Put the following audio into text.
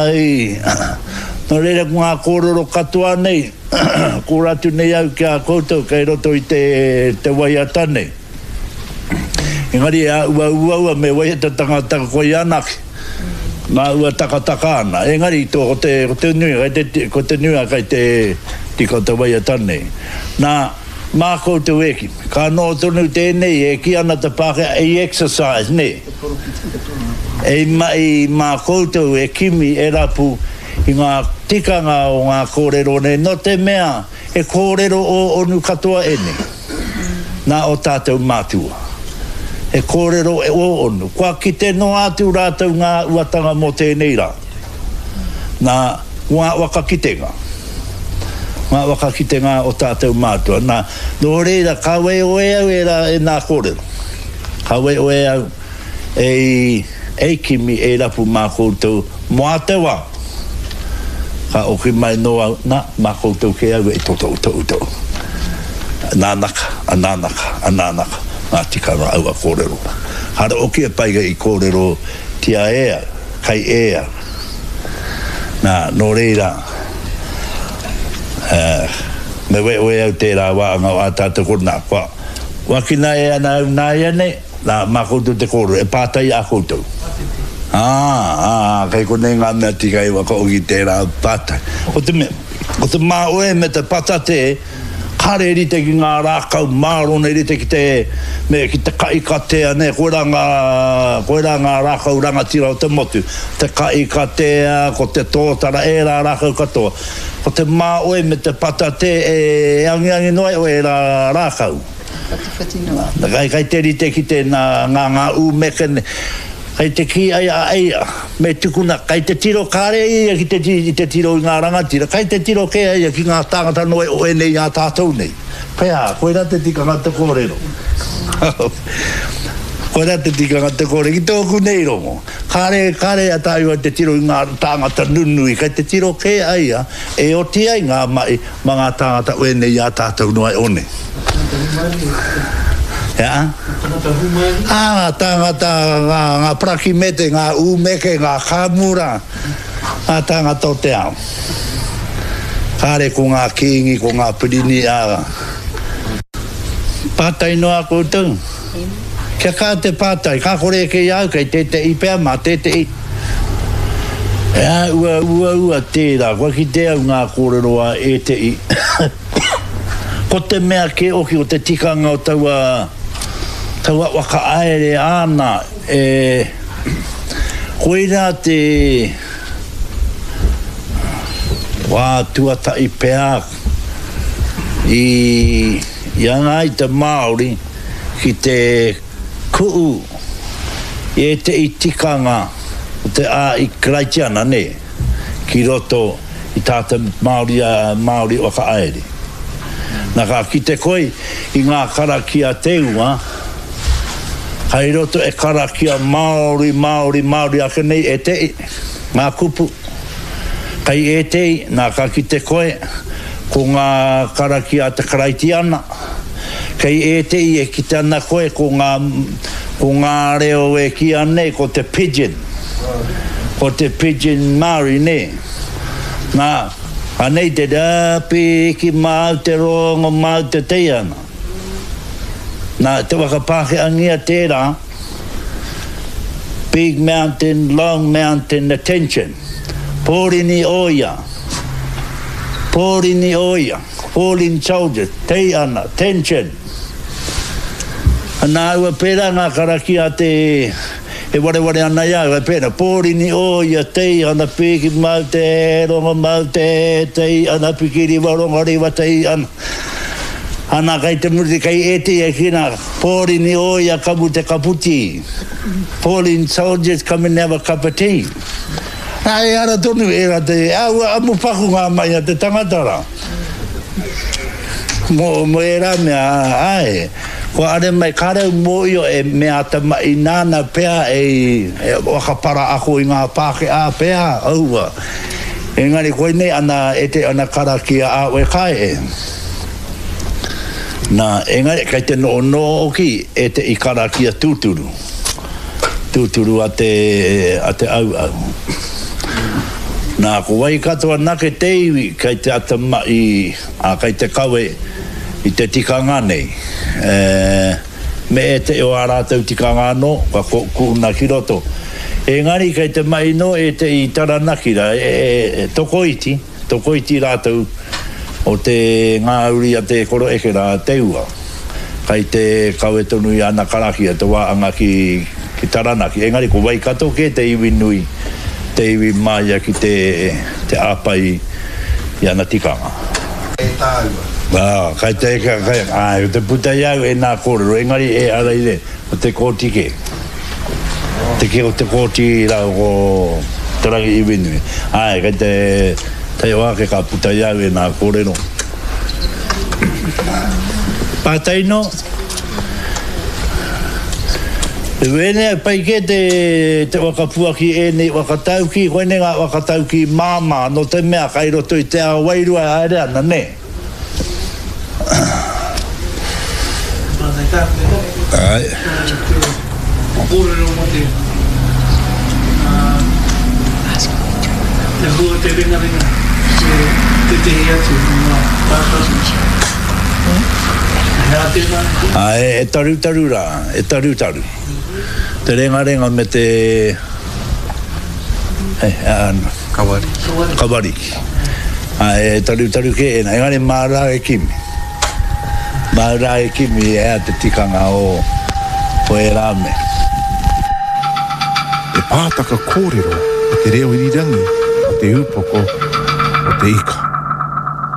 Ai. Nō reira ko ngā kōrero katoa nei, kōrero atu nei au ki a koutou kei roto i te, te waiata nei. Engari e āua uaua me waiata tangata koe anake. Nā ua takataka ana. Engari to, ko te, ko te nui, kei te, ko te nuinga kei te tika o te waiata nei. Nā, mā koutou e kimi. Ka noho tonu tēnei e kī ana te Pākehā, ei exercise, nē. Ei mahi mā koutou e kimi, e rapu i ngā tikanga o ngā kōrero nei, nō te mea he kōrero ō-onu katoa ēnei nā ō tātou mātua. He kōrero ō-onu. Kua kite noa atu rātou ngā uatanga mō tēnei rā. Nā, ko ngā whakakitenga, ngā whakakitenga o tātou mātua. Nā, nō reira, ka weoe au e rā, e nā kōrero. Ka weoe au e, e kimi, e rapu mā koutou mō ā te wā. Ka oki mai nō au, nā, mā koutou kē au e totoutou. Nānaka, a nānaka, a nānaka, ngā tikanga aua kōrero. Kāre oki e pai i kōrerotia e au, kai e au. Nā, nō reira, me wewe au tērā wāanga o ā tātou kōrero, nā, kua wakina e ana au nāianei, nā, mā koutou te kōrero, e pātai a koutou. Ā, ā, kei konei ngā mea tika i whakaoki tērā pātai. Ko te mea, ko te māoe me te patatē, Kāre e rite ki ngā rākau mārona i rite ki te, me, ki te kahikatea, nē, koirā ngā, koirā ngā rākau rangatira o te motu. Te kahikatea, ko te tōtara, ērā rākau katoa. Ko te māoi me te patatē e angiangi noa iho ērā rākau. Whatiwhati noa. Kai, kai te rite ki tēnā, ngā, ngā ūmeke, Kei te kī ai a Eia, me tukuna, kei te tiro kāre ia ki te i te tiro i ngā rangatira, kei te tiro kē a ia ki ngā tāngata noa o ēnei a tātou nei. Pea, koirā te tikanga te kōrero. Koirā te tikanga te kōrero. Ki tōku nei rongo, kāre, kāre a tāua te tiro i ngā tāngata nunui, kei te tiro kē a ia e oti ai ngā mahi Ma ngā tāngata o ēnei i a tātou noa e one. Tangata hūmārie. He aha? Ngā tangata hūmārie. Ā, ngā tāngata, ngā, ngā parakimete, ngā ūmeke, ngā kāmura, ngā tāngata o te ao. Kāre ko ngā kīngi, ko ngā pirini, ā. Pātai noa koutou. Kia kaha te pātai, ka kore eke i a au, kei tētehi pea, mā tētehi. He āhua uaua tērā, kua kite au ngā kōrero a ētehi. Ko te mea kē hoki o te tikanga o taua, taua whakahaere āna, e, koirā te wā tuatahi pea i, i anga ai te Māori ki te Ku'u i ētehi tikanga o te āi Karaitiana, nē, ki roto i tā te Māori, Māori whakahaere. Na ka kite koe i ngā karakia te ua, kai roto e karakia Māori, Māori, Māori ake nei ētehi, ngā kupu. Kai ētehi, nā ka kite koe, ko ngā karakia a te Karaitiana, Kei ētehi e kite ana koe ko ngā, ko ngā reo e kīia nei ko te pidgin. Ko te pidgin Māori, nē. Nā, anei te rā piki māu te rongo māu te teihana. Nā, te whakapākehāngia tērā, Big mountain, long mountain, attention. Pōrini o ia. Pōrini o ia. Falling soldiers, tei ana, tension. Ana aua pērā ngā karakia a te, e wareware ana i a au, e pērā, pōrini o ia, tei ana, piki mau te, rongo mau te, tei ana, piki riwa, rongo riwa, tei ana. Ana kei te muri, kei ētehi e kī ana, pōrini o ia, kamu te kaputi. Falling soldiers, come and have a cup of tea. Nā, ehara tonu ērā te, aua amu paku ngā mahi a te tangata rā. Mō, mō ērā mea, āe, kua are mai, kāre au mōhio e mea ata mahi nāna pea e, e whakapara ako i ngā Pākehā pea, aua. Engari koinei ana, e te ana karakia a oe kai e. Nā, engari kei te nohonoho hoki e te i karakia tūturu. Tūturu a te, a te auau. Nā, ko Waikato anake te iwi kei te atamai, ā, kei te kawe i te tikanga nei. E, me ētehi o ā rātou tikanga anō, kua kuhuna ki roto. Engari kei te mahi nō ētehi i Taranaki rā, e, e, tokoiti, Tokoiti rātou o te ngā uri a te koroeke rā, Te Ua, kai te kawe tonu i ana karakia te wā anga ki ki Taranaki. Engari ko Waikato kē te iwi nui, te iwi māia ki te te āpai i ana tikanga. E tāua. Ā, kai te, kai, āe, ko te puta i au ēnā kōrero, engari e Araire, ko Te Kooti kē. Te kī o Te Kooti rāua ko Te Rangi Iwinui. Āe, kei te taioha ake ka puta i au ēnā kōrero. Pātai nō? Wēnei au pai kē te, te whakapuaki ēnei whakataukī, koinei ngā whakataukī māmā, nō te mea kai roto i te ao wairua e haere ana, nē? Āe. Kōrero mō te, te hua te ringaringa me tētehi atu o ngā tātari. He aha tēnā? Āe, e tarutaru rā, e tarutaru. Te rengarenga me te, he, āna. Kawariki. Kawariki. Āe, e tarutaru kē ēnā, engari mā rā e kimi. Mā rā e kimi e ea te tikanga o, o ērā mea. Te pātaka kōrero o te reo irirangi o Te Ūpoko o te Ika.